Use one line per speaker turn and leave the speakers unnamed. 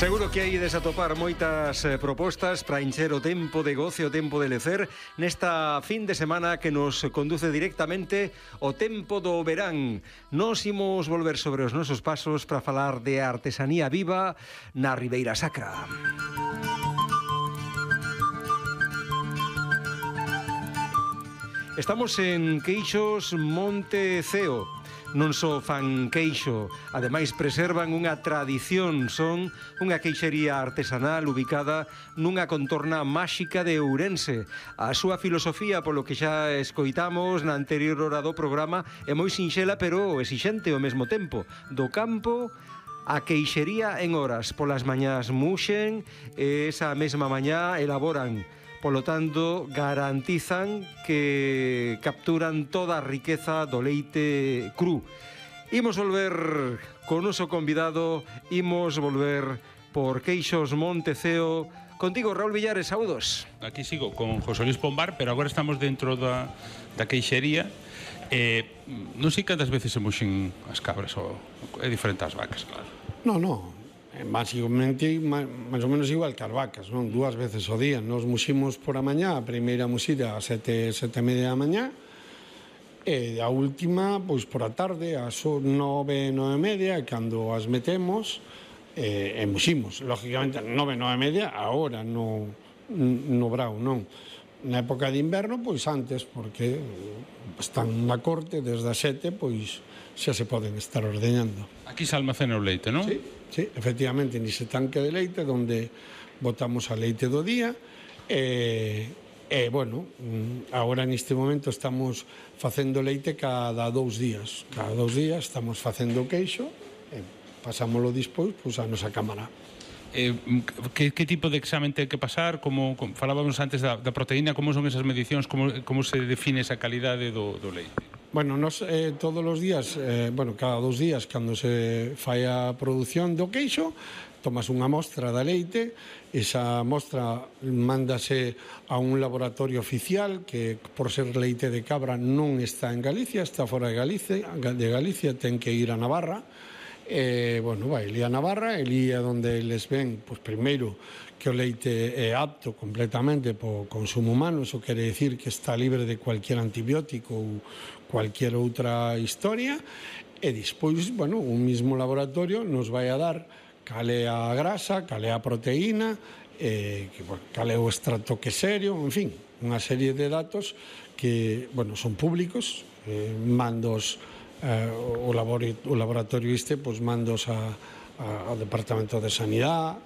Seguro que hai de atopar moitas propostas para encher o tempo de goce, o tempo de lecer nesta fin de semana que nos conduce directamente ao tempo do verán. Nos imos volver sobre os nosos pasos para falar de artesanía viva na Ribeira Sacra. Estamos en Queixos Monte Ceo. Non só fan queixo, ademais preservan unha tradición, son unha queixería artesanal ubicada nunha contorna máxica de Ourense. A súa filosofía, polo que xa escoitamos na anterior hora do programa, é moi sinxela pero exixente ao mesmo tempo. Do campo a queixería en horas, polas mañás muxen e esa mesma mañá elaboran. Polo tanto, garantizan que capturan toda a riqueza do leite cru. Imos volver con noso convidado, imos volver por Queixos Monte Ceo. Contigo, Raúl Villares, saúdos.
Aquí sigo con José Luis Pombar, pero agora estamos dentro da queixería. Non sei cantas veces se muxen as cabras, é diferente as vacas, claro.
Non. Básicamente, máis ou menos igual que as vacas, non? 2 veces ao día. Nos muximos por a mañá, a primeira muxida a 7:30 da mañá, e a última, pois, por a tarde, ás 9:30, cando as metemos, e muximos. Lógicamente, 9:30, agora, no brao, non? Na época de inverno, pois antes, porque están na corte, desde as 7, pois, xa se poden estar ordeñando.
Aquí se almacena o leite, non?
Sí, efectivamente, nese tanque de leite donde botamos a leite do día bueno, agora neste momento estamos facendo leite cada 2 días. Cada 2 días estamos facendo queixo e pasámoslo despois a nosa cámara.
Que tipo de examen ten que pasar? Como falábamos antes da proteína, como son esas medicións, como se define esa calidade do leite?
Bueno, nos todos os días, cada 2 días, cando se fai a produción do queixo, tomas unha mostra da leite, esa mostra mándase a un laboratorio oficial que, por ser leite de cabra, non está en Galicia, está fora de Galicia, ten que ir a Navarra. Vai ali a Navarra, ali é onde eles ven, pois, primeiro, que o leite é apto completamente po consumo humano, iso quere dicir que está libre de cualquier antibiótico ou cualquier outra historia, e despois, un mismo laboratorio nos vai a dar cal é a grasa, cal é a proteína, cal é o extracto queserio, en fin, unha serie de datos que, son públicos, mandos o laboratorio mandos ao Departamento de Sanidade,